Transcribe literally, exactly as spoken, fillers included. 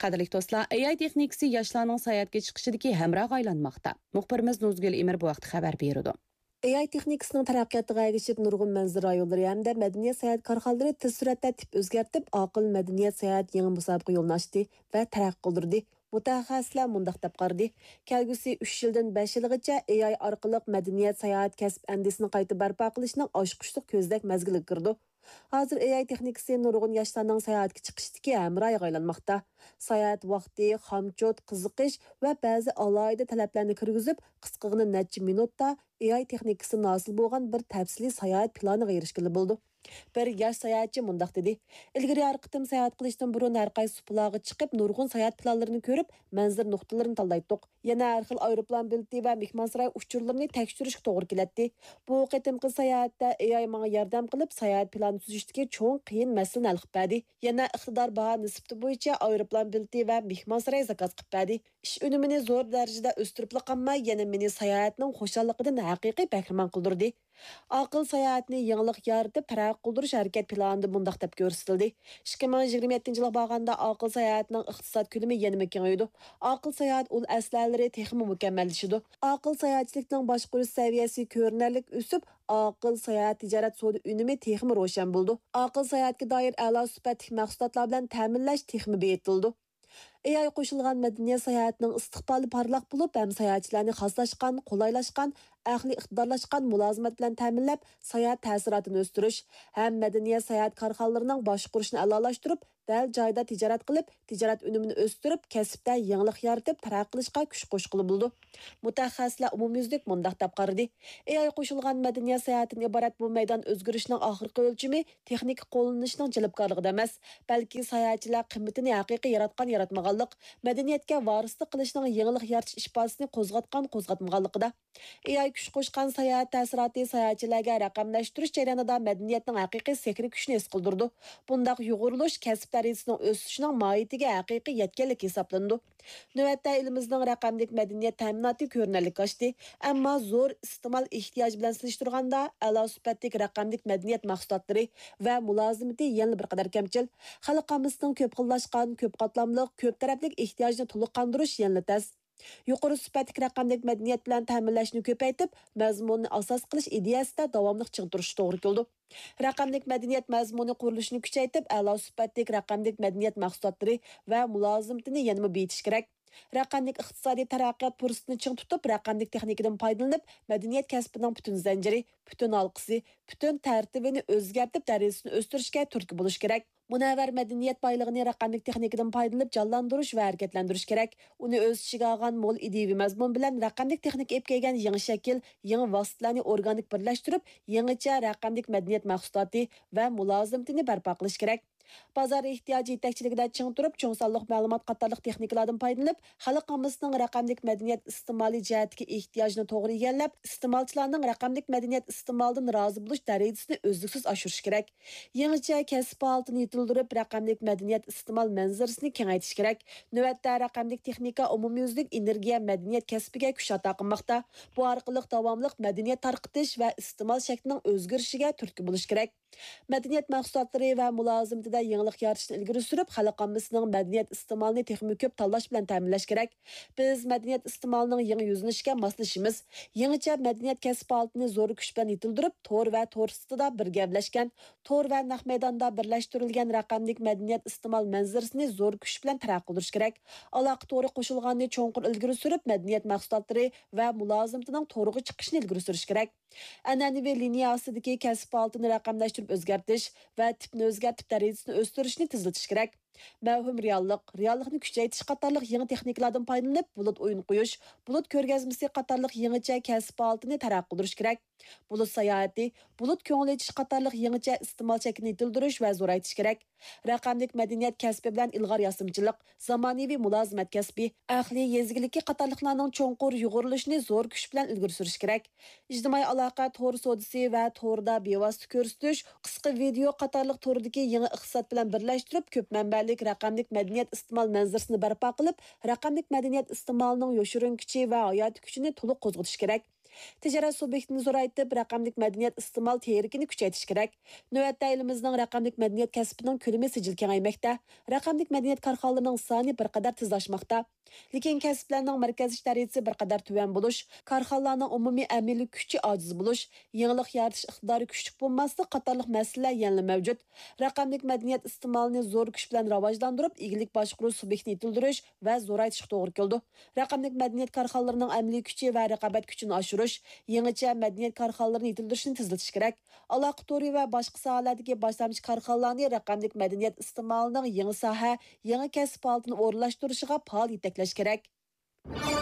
قەدىرلىك دوستلار، ئېي ئاي تېخنىكىسى ياشلارنىڭ ساياھەتكە چىقىشىدىكى ھەمراھقا ئايلانماقتا. مۇخبىرىمىز نۇزگۈل ئىمىر بۇ ھەقتە خەۋەر بېرىدۇ. ئېي ئاي تېخنىكىسىنىڭ تەرەققىياتىغا ئەگىشىپ، نۇرغۇن مەنزىرە رايونلىرى ھەمدە مەدەنىيەت ساياھەت كارخانىلىرى تېز سۈرئەتتە تىپ ئۆزگەرتىپ، ئاقىل مەدەنىيەت ساياھەت يېڭى مۇسابىقە يولىنى ئاچتى ۋە تەرەققىي قىلدۇردى. مۇتەخەسسىسلەر مۇنداق دەپ قارىدى، كەلگۈسى ئۈچ يىلدىن بەش يىلغىچە ئېي ئاي ئارقىلىق مەدەنىيەت ساياھەت كەسىپ ئەندىزىسىنى قايتا بەرپا قىلىشنىڭ ئاچقۇچلۇق كۆزنەك مەزگىلىگە كىرىدۇ. ھازىر ئېي ئاي تېخنىكىسى نۇرغۇن ياشلارنىڭ ساياھەتكە چىقىشتىكى ھەمراھىغا ئايلانماقتا. ساياھەت ۋاقتى، خامچوت، قىزىقىش ۋە بەزى ئالاھىدە تەلەپلەرنى كىرگۈزۈپ، قىسقىغىنا نەچچە مىنۇتتا ئېي ئاي تېخنىكىسىدىن ھاسىل بولغان بىر تەپسىلىي ساياھەت پىلانىغا ئېرىشكىلى بولىدۇ. بىر ياش ساياھەتچى مۇنداق دېدى، ئىلگىرى ھەر قېتىم ساياھەت قىلىشتىن بۇرۇن ھەر قايسى سۇپىلارغا چىقىپ، نۇرغۇن ساياھەت پىلانلىرىنى كۆرۈپ، مەنزىرە نۇقتىلىرىنى تاللايتتۇق. يەنە ھەر خىل ئايروپىلان بېلىتى ۋە مېھمانساراي ئۇچۇرلىرىنى تەكشۈرۈشكە توغرا كېلەتتى. بۇ قېتىمقى ساياھەتتە ئېي ئاي ماڭا ياردەم قىلىپ، ساياھەت پىلانى تۈزۈشتىكى چوڭ قىيىن مەسىلىنى ھەل قىلىپ بەردى. يەنە ئىقتىدار باھا نىسبىتى بويىچە ئايروپىلان بېلىتى ۋە مېھمانساراي زاكاز قىلىپ بەردى. ئىش ئۈنۈمىنى زور دەرىجىدە ئۆستۈرۈپلا قالماي، يەنە مېنى ساياھەتنىڭ خۇشاللىقىدىن ھەقىقىي بەھرىمەن قىلدۇردى. ئاقىل ساياھەتنى يېڭىلىق يارىتىپ، تەرەققىي قىلدۇرۇش ھەرىكەت پىلانىدا مۇنداق دەپ كۆرسىتىلدى، ئىككى مىڭ يىگىرمە يەتتىنچى يىلغا بارغاندا ئاقىل ساياھەتنىڭ ئىقتىساد كۆلىمى يەنىمۇ كېڭىيىدۇ. ئاقىل ساياھەت ئۇل ئەسلىھەلىرى تېخىمۇ مۇكەممەللىشىدۇ. ئاقىل ساياھەتچىلىكنىڭ باشقۇرۇش سەۋىيەسى كۆرۈنەرلىك ئۆسۈپ، ئاقىل ساياھەت تىجارەت سودا ئۈنۈمى تېخىمۇ روشەن بولىدۇ. ئاقىل ساياھەتكە دائىر ئەلا سۈپەتلىك مەھسۇلاتلار بىلەن تەمىنلەش تېخىمۇ بېيىتىلىدۇ. ئېي ئاي قوشۇلغان مەدەنىيەت ساياھەتنىڭ ئىستىقبالى پارلاق بولۇپ، ھەم ساياھەتچىلەرنى خاسلاشقان، قولايلاشقان، ئەقلىي ئىقتىدارلاشقان مۇلازىمەت بىلەن تەمىنلەپ، ساياھەت تەسىراتىنى ئۆستۈرۈش، ھەم مەدەنىيەت ساياھەت كارخانىلىرىنىڭ باشقۇرۇشىنى ئەلالاشتۇرۇپ، دەل جايىدا تىجارەت قىلىپ، تىجارەت ئۈنۈمىنى ئۆستۈرۈپ، كەسىپتە يېڭىلىق يارىتىپ، تەرەققىي قىلىشقا كۈچ قوشقىلى بولىدۇ. مۇتەخەسسىسلەر ئومۇميۈزلۈك مۇنداق دەپ قارىدى، ئېي ئاي قوشۇلغان مەدەنىيەت ساياھەتتىن ئىبارەت بۇ مەيدان ئۆزگىرىشنىڭ ئاخىرقى ئۆلچىمى تېخنىكا قوللىنىشنىڭ جەلپكارلىقىدا ئەمەس، بەلكى ساياھەتچىلەر قىممىتىنى ھەقىقىي ياراتقان-ياراتمىغانلىق، مەدەنىيەتكە ۋارىسلىق قىلىشنىڭ يېڭىلىق يارىتىش ئىپادىسىنى قوزغاتقان-قوزغاتمىغانلىقىدا. ئېي ئاي كۈچ قوشقان ساياھەت تەسىراتى ساياھەتچىلەرگە رەقەملەشتۈرۈش جەريانىدا مەدەنىيەتنىڭ ھەقىقىي سېھرىي كۈچىنى ھېس قىلدۇرىدۇ. بۇنداق يۇغۇرۇلۇش كەسىپ دەرىجىسىنىڭ ئۆسۈشىنىڭ ماھىيىتىگە ھەقىقىي يەتكەنلىك ھېسابلىنىدۇ. نۆۋەتتە ئېلىمىزنىڭ رەقەملىك مەدەنىيەت تەمىناتى كۆرۈنەرلىك ئاشتى، ئەمما زور ئىستېمال ئېھتىياجى بىلەن سېلىشتۇرغاندا، ئەلا سۈپەتلىك رەقەملىك مەدەنىيەت مەھسۇلاتلىرى ۋە مۇلازىمىتى يەنىلا بىر قەدەر كەمچىل. خەلق ئاممىسىنىڭ كۆپ خىللاشقان، كۆپ قاتلاملىق، كۆپ تەرەپلىك ئېھتىياجنى تولۇق قاندۇرۇش يەنىلا تەس. يۇقىرى سۈپەتلىك رەقەملىك مەدەنىيەت بىلەن تەمىنلەشنى كۆپەيتىپ، مەزمۇننى ئاساس قىلىش ئىدىيەسىدە داۋاملىق چىڭ تۇرۇشقا توغرا كېلىدۇ. رەقەملىك مەدەنىيەت مەزمۇنى قۇرۇلۇشىنى كۈچەيتىپ، ئەلا سۈپەتلىك رەقەملىك مەدەنىيەت مەھسۇلاتلىرى ۋە مۇلازىمىتىنى يەنىمۇ بېيىتىش كېرەك. رەقەملىك ئىقتىسادىي تەرەققىيات پۇرسىتىنى چىڭ تۇتۇپ، رەقەملىك تېخنىكىدىن پايدىلىنىپ، مەدەنىيەت كەسپىنىڭ پۈتۈن زەنجىرى، پۈتۈن ھالقىسى، پۈتۈن تەرتىپىنى ئۆزگەرتىپ، دەرىجىسىنى ئۆستۈرۈشكە تۈرتكە بولۇش كېرەك. مۇنەۋۋەر مەدەنىيەت بايلىقىنى رەقەملىك تېخنىكىدىن پايدىلىنىپ جانلاندۇرۇش ۋە ھەرىكەتلەندۈرۈش كېرەك. ئۇنى ئۆز ئىچىگە ئالغان مول ئىدىيىۋى مەزمۇن بىلەن رەقەملىك تېخنىكا ئېلىپ كەلگەن يېڭى شەكىل، يېڭى ۋاسىتىلەرنى ئورگانىك بىرلەشتۈرۈپ، يېڭىچە رەقەملىك مەدەنىيەت مەھسۇلاتى ۋە مۇلازىمىتىنى بەرپا قىلىش كېرەك. بازار ئېھتىياجى يېتەكچىلىكىدە چىڭ تۇرۇپ، چوڭ سانلىق مەلۇمات قاتارلىق تېخنىكىلاردىن پايدىلىنىپ، خەلق ئاممىسىنىڭ رەقەملىك مەدەنىيەت ئىستېمالى جەھەتتىكى ئېھتىياجىنى توغرا ئىگىلەپ، ئىستېمالچىلارنىڭ رەقەملىك مەدەنىيەت ئىستېمالىدىن رازى بولۇش دەرىجىسىنى ئۈزلۈكسىز ئاشۇرۇش كېرەك. يېڭىچە كەسىپ ھالىتىنى يېتىلدۈرۈپ، رەقەملىك مەدەنىيەت ئىستېمال مەنزىرىسىنى كېڭەيتىش كېرەك. نۆۋەتتە رەقەملىك تېخنىكا ئومۇميۈزلۈك ئېنېرگىيە مەدەنىيەت كەسپىگە كۈچ ئاتا قىلماقتا. بۇ ئارقىلىق داۋاملىق مەدەنىيەت تارقىتىش ۋە ئىستېمال شەكلىنىڭ ئۆزگىرىشىگە تۈرتكە بولۇش كېرەك. مەدەنىيەت مەھسۇلاتلىرى ۋە مۇلازىمىتىدە يېڭىلىق يارىتىشنى ئىلگىرى سۈرۈپ، خەلق ئاممىسىنىڭ مەدەنىيەت ئىستېمالىنى تېخىمۇ كۆپ تاللاش بىلەن تەمىنلەش كېرەك. بىز مەدەنىيەت ئىستېمالىنىڭ يېڭى يۈزلىنىشىگە ماسلىشىمىز. يېڭىچە مەدەنىيەت كەسىپ ھالىتىنى زور كۈچ بىلەن يېتىلدۈرۈپ، تور ۋە تور سىرتىدا بىر گەۋدىلەشكەن، تور ۋە نەق مەيداندا بىرلەشتۈرۈلگەن رەقەملىك مەدەنىيەت ئىستېمال مەنزىرىسىنى زور كۈچ بىلەن تەرەققىي قىلدۇرۇش كېرەك. ئالاقە تورى قوشۇلغاننى چوڭقۇر ئىلگىرى سۈرۈپ، مەدەنىيەت مەھسۇلاتلىرى ۋە مۇلازىمىتىنىڭ تورغا چىقىشىنى ئىلگىرى سۈرۈش كېرەك. ئەنئەنىۋى لىنىيە ئاستىدىكى كەسىپ ھالىتىنى رەقەملەشتۈرۈپ ئۆزگەرتىش ۋە تىپنى ئۆزگەرتىپ دەرىجىسىنى ئۆستۈرۈشنى تېزلىتىش كېرەك. مەۋھۇم رېئاللىق، رېئاللىقنى كۈچەيتىش قاتارلىق يېڭى تېخنىكىلاردىن پايدىلىنىپ، بۇلۇت ئويۇن قويۇش، بۇلۇت كۆرگەزمىسى قاتارلىق يېڭىچە كەسىپ ھالىتىنى تەرەققىي قىلدۇرۇش كېرەك. بۇلۇت ساياھىتى، بۇلۇت كۆڭۈل ئېچىش قاتارلىق يېڭىچە ئىستېمال شەكلىنى يېتىلدۈرۈش ۋە زورايتىش كېرەك. رەقەملىك مەدەنىيەت كەسپى بىلەن ئىلغار ياسىمىچىلىق، زامانىۋى مۇلازىمەت كەسپى، ئەقلىي يېزا ئىگىلىكى قاتارلىقلارنىڭ چوڭقۇر يۇغۇرۇلۇشىنى زور كۈچ بىلەن ئىلگىرى سۈرۈش كېرەك. ئىجتىمائىي ئالاقە تور سودىسى ۋە توردا بىۋاسىتە كۆرسىتىش، قىسقا ۋىدېئو قاتارلىق توردىكى يېڭى ئىقتىساد بىلەن بىرلەشتۈرۈپ، كۆپ مەنبەلىك رەقەملىك مەدەنىيەت ئىستېمال مەنزىرىسىنى بەرپا قىلىپ، رەقەملىك مەدەنىيەت ئىستېمالىنىڭ يوشۇرۇن كۈچى ۋە ھاياتىي كۈچىنى تولۇق قوزغىتىش كېرەك. تىجارەت سۇبيېكتىنى زورايتىپ، رەقەملىك مەدەنىيەت ئىستېمال تېرىكىنى كۈچەيتىش كېرەك. نۆۋەتتە ئېلىمىزنىڭ رەقەملىك مەدەنىيەت كەسپىنىڭ كۆلىمى سىجىل كېڭەيمەكتە. رەقەملىك مەدەنىيەت كارخانىلىرىنىڭ سانى بىر قەدەر تېز ئاشماقتا. لېكىن كەسىپلەرنىڭ مەركەزلىشىش دەرىجىسى بىر قەدەر تۆۋەن بولۇش، كارخانىلارنىڭ ئومۇمىي ئەمەلىي كۈچى ئاجىز بولۇش، يېڭىلىق يارىتىش ئىقتىدارى كۈچلۈك بولماسلىق قاتارلىق مەسىلىلەر يەنىلا مەۋجۇت. رەقەملىك مەدەنىيەت ئىستېمالىنى زور كۈچ بىلەن راۋاجلاندۇرۇپ، ئىگىلىك باشقۇرۇش سۇبيېكتىنى يېتىلدۈرۈش ۋە زورايتىشقا توغرا كېلىدۇ. رەقەملىك مەدەنىيەت كارخانىلىرىنىڭ ئەمەلىي كۈچى ۋە رىقابەت كۈچىنى ئاشۇرۇش، يېڭىچە مەدەنىيەت كارخانىلىرىنى يېتىلدۈرۈشنى تېزلىتىش كېرەك. ئالاقە تورى ۋە باشقا ساھەلەردىكى باشلامچى كارخانىلارنى رەقەملىك مەدەنىيەت ئىستېمالىنىڭ يېڭى ساھە، يېڭى كەسىپ ھالىتىنى ئورۇنلاشتۇرۇشىغا پائال يېتەكلەش كېرەك.